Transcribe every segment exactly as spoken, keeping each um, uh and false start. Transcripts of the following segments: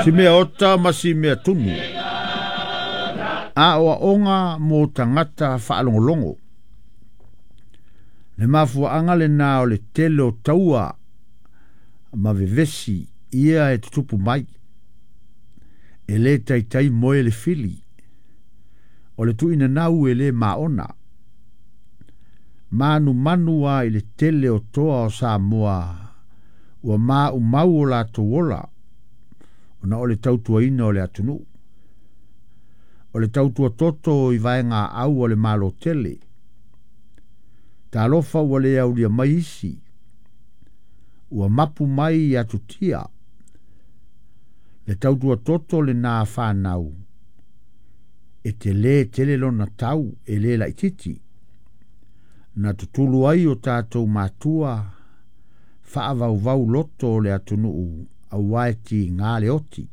Si mea ota ma si mea tunu. A oaoga mo tagata faalogologo. Le mafuaaga lenā o le tele o taua ma vevesi ia e tutupu mai. E lē taitai moe le fili. O le tuuinanau e lē maona. Manumanu a i le tele o toa o Samoa ua maumau o latou ola ona o le tautuaina o le atunuu. O le tautua toto i vaega au o le malo tele. Talofa ua le aulia mai isi. Ua mapu mai i atutia. Le tautua toto le nā whanau. E te lē tele lona tau e lē laititi. Na tutulu ai o tātou matua faavauvau loto o le atunuu auā e tigā le oti.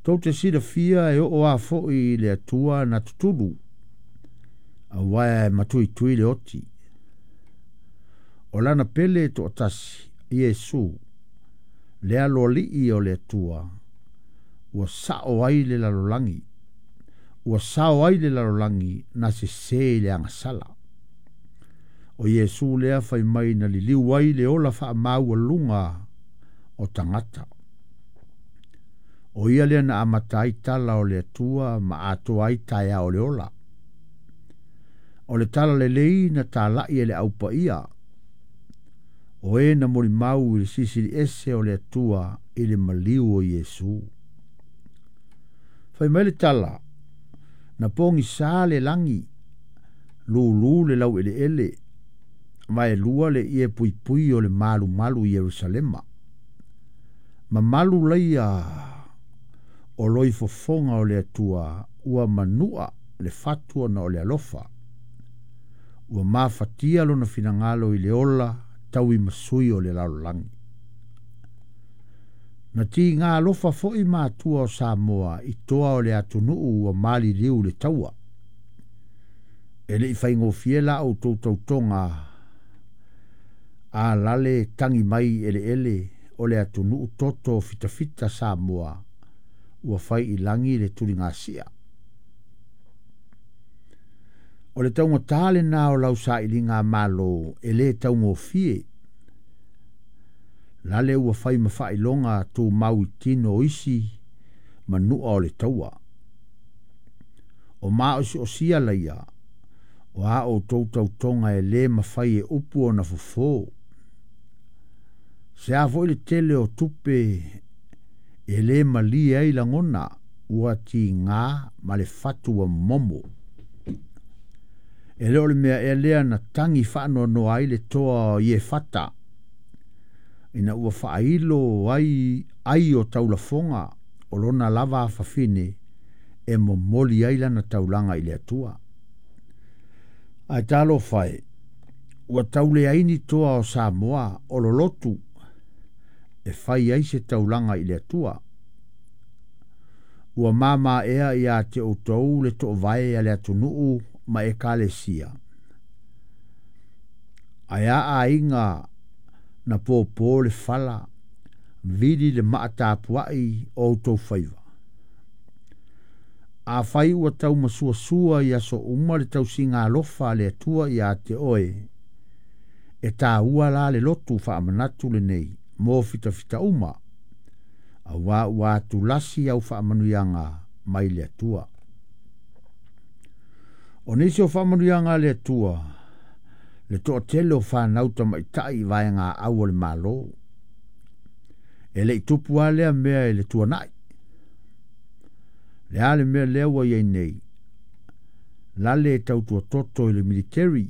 Tou te silafia e oo a foʻi i le Atua na tutulu auā e matuitui le oti. O lana pele toatasi Iesu le aloalii o le Atua ua sao ai le lalolagi ua sao ai le lalolagi na sesē i le agasala. O Iesu lea fai mai na liliu ai le ola faamaualuga o tagata. O ia lea na amata ai tala o le Atua ma atoa ai taeao o le ola. O le tala lelei na talai e le aupaia. O e na molimau i le Silisili Ese o le Atua i le maliu o Iesu. Fai mai le tala, na pogisā le lagi, lūlū le laueleele, vaelua le ie puipui o le malumalu i Ierusalema. Mamalu laia o loifofoga o le Atua ua manua le fatu ona o le alofa. Ua mafatia lona finagalo i le ola tauimasui o le lalolagi. Na tigā alofa foʻi matua o Samoa i toa o le atunuu ua maliliu le taua. E leʻi faigofie la outou tautoga a lale tagi mai eleele o le atunuu toto fitafita Samoa ua fai i lagi le tuligasia. O le taugatā lenā o lau sailiga malo e lē taugofie. Lale ua fai ma faailoga tumau i tino o isi manua o le taua. O maosi'osia laia o a outou tautoga e lē mafai e upu ona fofō. Se a foʻi le tele o tupe e lē malie ai lagona ua tigā ma le fatu ua momo. E le o le mea ea lea na tagi faanoanoa ai le toa o Iefata ina ua faailo ai ai o taulafoga o lona lava afafine e momoli ai lana taulaga i le Atua. Ae talofa e, ua tauleaini toa o Samoa o lolotu e fai ai se taulaga i le Atua. Ua mamaea ia te outou le toovae a le atunuu ma ekalesia. Ae a aiga na pōpō le fala, vili le maatapuai o outou faiva. Afai ua taumasuasua i aso uma le tausiga alofa a le Atua ia te oe, e tāua la le lotu faamanatu lenei mo fitafita uma, auā ua atulasi au faamanuiaga mai le Atua. O nisi o faamanuiaga a le Atua, le toatele o fanau tamaitai i vaega au o le malo. E leʻi tupu a lea mea i le tuanai. Le a le mea lea ua iai nei, lale e tautua toto i le militeri,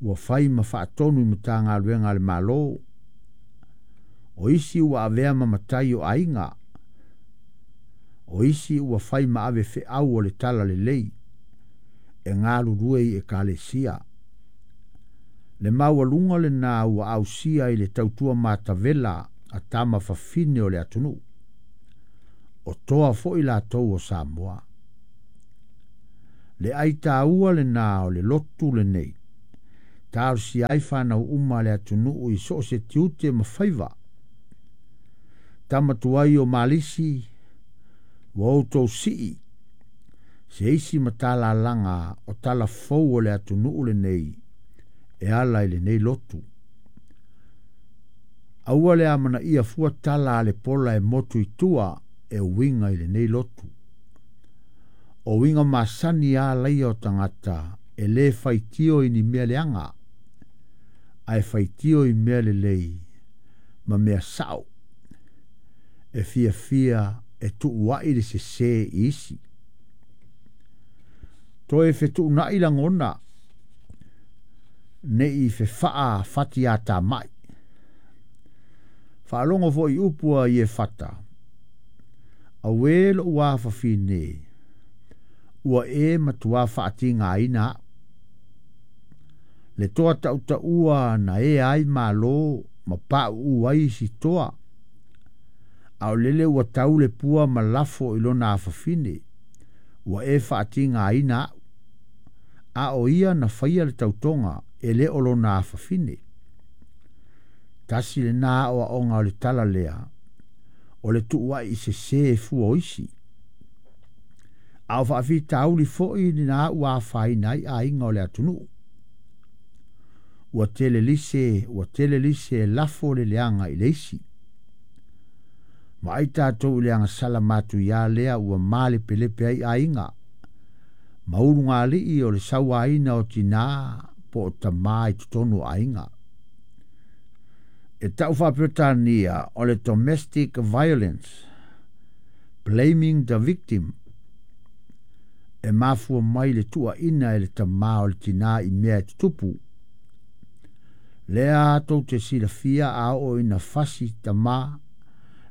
ua fai ma faatonu i Matagaluega a le Malo. O isi ua avea ma matai o aiga. O isi ua fai ma ave feau o le tala lelei e galulue i ekalesia. Le maualuga lenā ua ausia i le tautua matavela a tama fafine o le atunuu. O toa foʻi latou o Samoa. Le aitaua lenā o le lotu lenei. Talosia ai fanau uma a le atunuu i so o se tiute ma faiva. Tama tuai o malisi ua outou sii se isi matalalaga o tala fou o le atunuu lenei e ala i lenei lotu. Aua le amanaia fua tala a le pola e motu i tua e uiga i lenei lotu. O uiga masani a laia o tagata e lē faitio i ni mea leaga ae faitio i mea lelei ma mea sao e fiafia e tuuaʻi le sesē i isi. Toe fetuunaʻi lagona nei fefaa fati atamai. Faalogo foʻi upu a Iefata, auē loʻu afafine, ua e matuā faatigaina aʻu. Le toa tautaua na e ai malo ma paʻuʻu ai isi toa, a o lele ua tau le pua ma lafo i lona afafine, ua e faatigaina aʻu. A o ia na faia le tautoga e lē o lona afafine. Tasi lenā aʻoaʻoga o le tala lea, o le tuuaʻi i sesē e fua o isi. A o faafitauli foʻi lena ua afaina ai aiga o le atunuu. Ua tele lise, ua tele lise e lafo le leaga i le isi. Ma ai tatou i le agasala matuiā lea ua malepelepe ai aiga. Ma ulugalii o le sauaina o tinā po o tamā i totonu o aiga. E tau faaperetania o le domestic violence, blaming the victim, e mafua mai le tuuaʻina e le tamā o le tinā i mea e tutupu. Lea tou te silafia a oo ina fasi tamā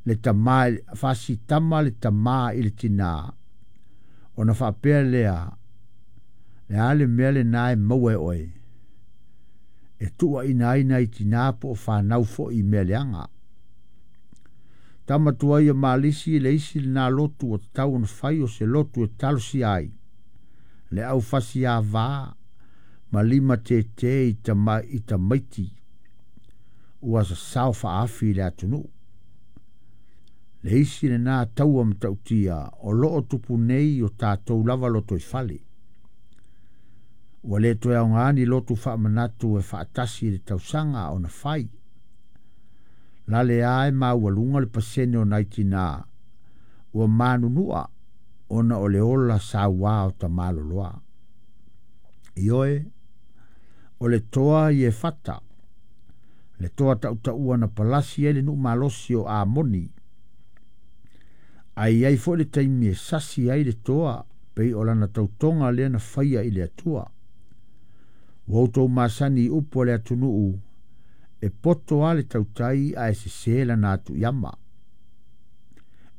le tamā fasi tama le tamā i le tinā ona faapea lea le a le mea lenā e maua e oe e tuuaʻina ai nai tinā po o fanau foʻi i mea leaga. Tama tuai o malisi le isi lenā lotu ua tatau ona fai o se lotu e talosia ai le aufasi avā ma lima tētē i tama i tamaiti ua sasao faafi i le atunuu. Le isi lenā taua matautia o loo tupu nei o tatou lava loto i fale. Ua lē toe aogā ni lotu faamanatu e faatasi i le tausaga ona fai. La le a e maualuga le pasene o nai tinā ua manunua ona o le ola sauā o tamaloloa. Ioe, o le toa Iefata, le toa tautaua na palasi ai le nuu malosi o Amoni. Ai ai foʻi le taimi e sasi ai le toa pei o lana tautoga lea na faia i le Atua. Ua outou masani i upu a le atunuu e poto a le tautai ae sesē lana atu iama.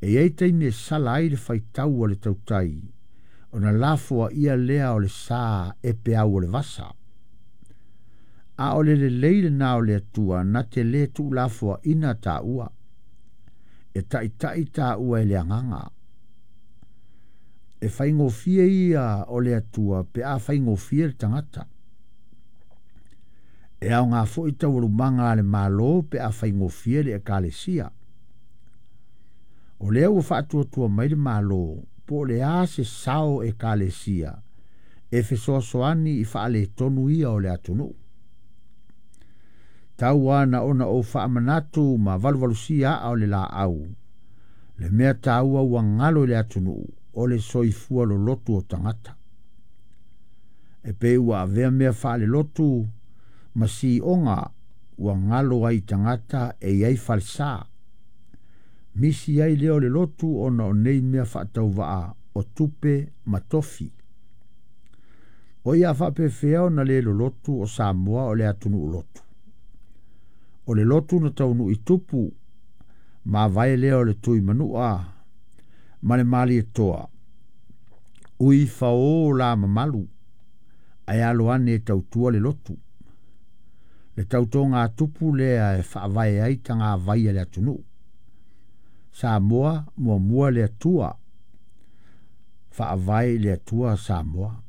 E iai taimi e sala ai le faitau a le tautai ona lafoaʻia lea o le sā e peau o le vasa. A o le lelei lenā o le Atua na te lē tuulafoaʻina taua. E taʻitaʻi taua e le agaga. E faigofie ia o le Atua pe a faigofie le tagata. E aogā foʻi taualumaga a le Mālō pe a faigofie le Ekalesia. O lea ua faatuatua mai le Mālō po o le a se sao Ekalesia e fesoasoani i faaletonu ia o le atunuu. Tau ana ona ou faamanatu ma valuvalusia aa o le laau. Le mea taua ua galo i le atunuu o le soifua lolotu o tagata. E pei ua avea mea faalelotu ma sioga ua galo ai tagata e iai falesā. Misi ai lea o le lotu ona o nei mea faatauvaa o tupe ma tofi. O ia faapefea ona lē lolotu o Samoa o le atunuu lotu. O le lotu na taunuu i tupu mavae lea o le tui manua ma le malietoa. Ui faō la mamalu ae alo ane e tautua le lotu. Le tautoga a tupu lea e faavae ai tagavai a le atunuu. Samoa muamua le Atua, faavae i le Atua Samoa.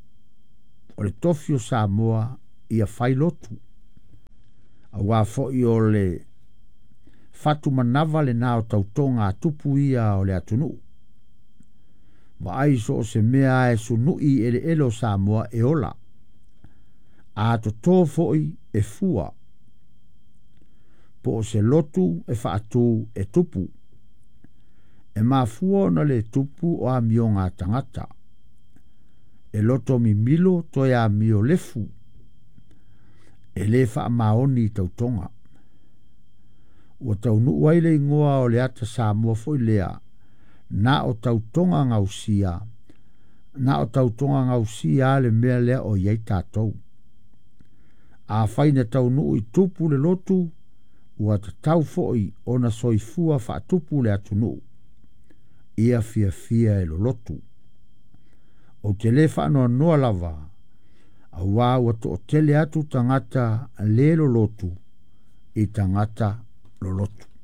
O le tofi o Samoa ia fai lotu. Auā foʻi o le Fatumanava lenā o tautoga a tupu ia o le atunuu. Vaai so o se mea e sunu'i i eleele o Samoa e ola. A totō fo'i e fua. Po o se lotu e faatū e tupu. E mafua ona le tupu o amioga a tagata. E loto mimilo toe amio lefu. E lē faamaoni i tautoga. Ua taunuu ai le igoa o le ata Samoa foi lea na o tautoga gausia na o tautoga gausia le mea lea o iai tatou. Afai na taunuu i tupu le lotu, ua tatau fo'i ona soifua faatupu le atunuu. Ia fiafia e lolotu. Ou te lē faanoanoa lava, auā ua to'atele atu tagata lē lolotu i tagata lolotu.